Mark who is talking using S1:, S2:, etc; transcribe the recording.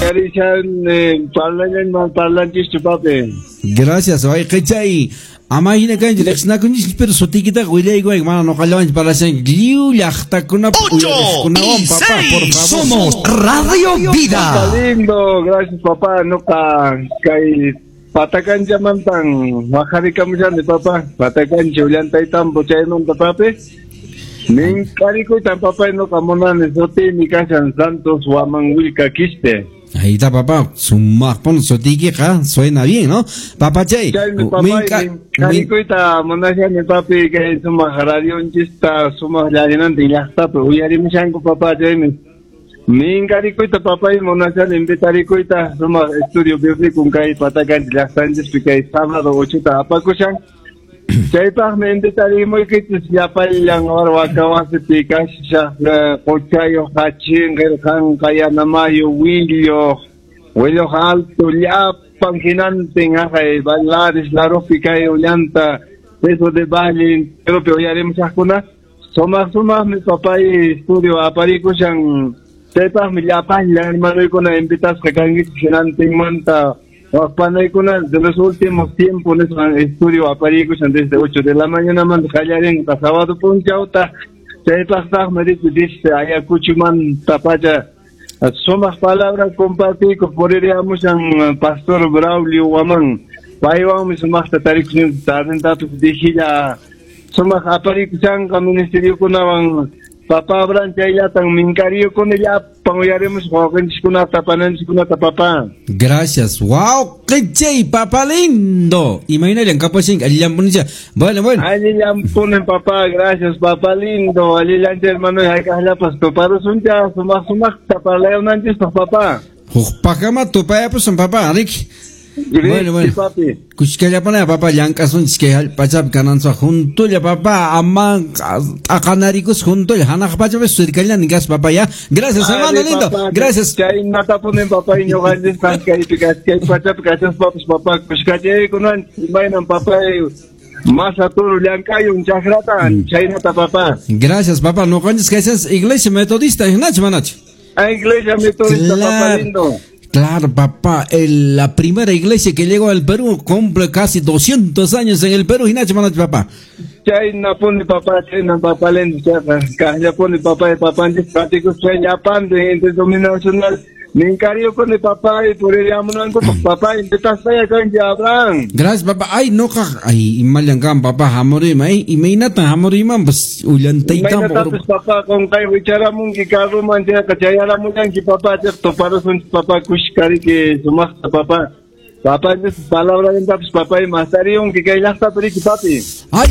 S1: Uyarishan parlanman parlanchis papi.
S2: Gracias, wayqichay. Ama hina kanchi riqsinakunchis, pero sutiykitaqa willaykuway, mana nuqallawanchu parlashanki. Lliw llaqtakunapi
S3: 8
S2: uyariqkunawan,
S3: y
S2: papá, por
S3: 6.
S2: favor.
S3: Somos Radio Vida.
S1: Lindo, gracias papá. Nuqa kay Patacanchamantan waqharikamushani papá. Patacancha Ollantaytambo chaymanta papi. Minkarikuytan papá nuqa munani sutiymi kashan Santos Huamanhuilca Quispe.
S2: Ahí está, papá. Sumaqpuni sutiykiqa suena bien, ¿no? Papachay.
S1: Chaymi papá, minkarikuyta munashani papi kay sumaq radionchista sumaq llarinantin llaqtapi uyarimushanku papá chaymi. Minkarikuyta papay munashani invitarikuyta sumaq estudio bíblico kay Patacancha llaqtanchispi kay sábado 8ta apakushan. Chaypaqmi invitarimuykichis llapallan Warwakawasipi kashaq Quchayuq, Hachinqir, Qanqa, Yanamayu, Willuq, Willuq Alto, llapan hinantin haqay Lares, Larupi kay Ollanta, Peso de Valle, enteropi uyarimushaqkuna. Sumaq sumaqmi papay estudio aparikushan. Chaypaqmi llapallan hermanoykuna invitasqa kankichis hinantinmanta. Waqpanaykuna de los últimos tiempos nisqan estudio aparikushan desde 8 de la mañana manta qallarinqa sábado p'unchawta. Chaypaqtaqmi riki dice Ayacuchumanta pacha sumaq palabra compartiykuq puririamushan pastor Braulio Huamán. Paywanmi sumaqta tarikushan tardentapis dijilla sumaq aparikushanqa ministeriokunawan. Papá Abraham chayllatan minkariyukuni llapan uyarimus wawqinchiskunata pananchiskunata papá.
S2: Gracias. Wow, quichay, papá lindo. Imaynallan kapashinki allillanpunicha. Bueno, bueno.
S1: Allillanpunin papá, gracias papá lindo. Allillancha hermano hayk'aqllapas tuparusuncha sumaq sumaqta parlayunanchispaq papá.
S2: Hukpaqkama tupayapusun papá, riki. Bueno, bueno.
S1: Papi.
S2: Kushkallapana papá llank'asunchis kay hallp'achapi kananchis juntulla papá ama t'aqanarikus juntulla hanaq pachapi sirkallani kas papá ya. Gracias hermano lindo. Gracias.
S1: Chaynatapunin papá ñuqanchispaq kaypi kay pachapi kashaspapas papá kushkachaykunanchis imaynan papá masa turu llank'ayun chakrata chaynata papá.
S2: Gracias papá. Ñuqanchis kashas iglesia metodista hinachu manachu.
S1: Iglesia metodista papá lindo.
S2: Claro, papá, la primera iglesia que llegó al Perú cumple casi 200 años en el Perú, Hinacho Manacho, papá.
S1: Chayna puni papá, chayna papá lindo, chayna kaqlla puni papá, papanchis pratikus llapante interdenominacional. Minkariyukuni papá y puririamunankupaq papá, invitasqaya kanki Abraham.
S2: Gracias, papá. Ay, no, ay, imallan kan papá, hamurima, ay, imaynatan hamurimanpas Ollantaytambo.
S1: Imaynatapis papá, qunqay wicharamunki carruman chayqa chayaramunanki papá, chayqa tuparusunchis papá, kushkariki sumaqta papá. Papá, palabra lentapis papá, mastariyunki kay llaqtapi riki papi.
S2: Ay.